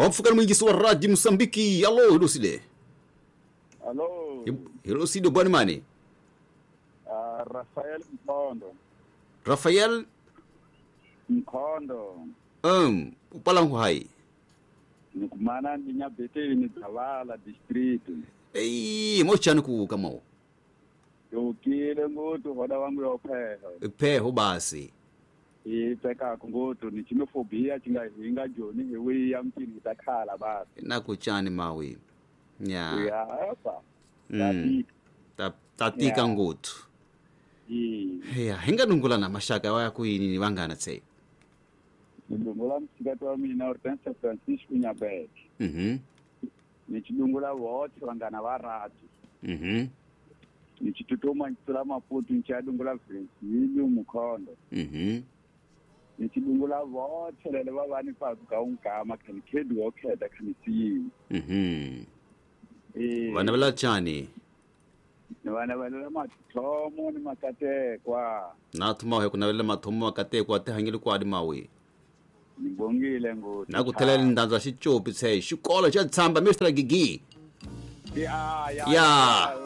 Wampfukani mwingisi wa Radio Msambiki. Alo, hilosile. Alo. Hilosile bwana mani. Rafael Mkhondo. Rafael Mkhondo. Upala hai. Nikumana ndinyabeteni Dzavala district. Ei, mochani ku kamao. Yokile ngotu hoda wangu yopheho. Pheho basi. Ipeka ngotu ni xenophobia xi nga hinga joni hi wiya mtini ta khala basi. Na ku chani mawi. Nya. Ya apa. Ta tika ngothu. Ya, hinga dungula na mashaka wa ku yini vangana tse. Ndungula msikati wa mina Hortensia Francisco Nyabete. Ni chidungula wote vangana va ratu. Ni chitutuma chitula Maputo ni chadungula Francisco Mukhondo. Ni chidungula vote lele va vani pa ka unkama khani khedi wo kheda khani siyi. Vana vela chani. Ni vana vela mathomo ni makatekwa. Na thuma he kuna vela mathomo makatekwa te hangile kwadi mawi. Ngibongile ngoti. Na ku thelela ndanza xicopi tse xikolo xa tshamba Mr Gigi. Ya Ya.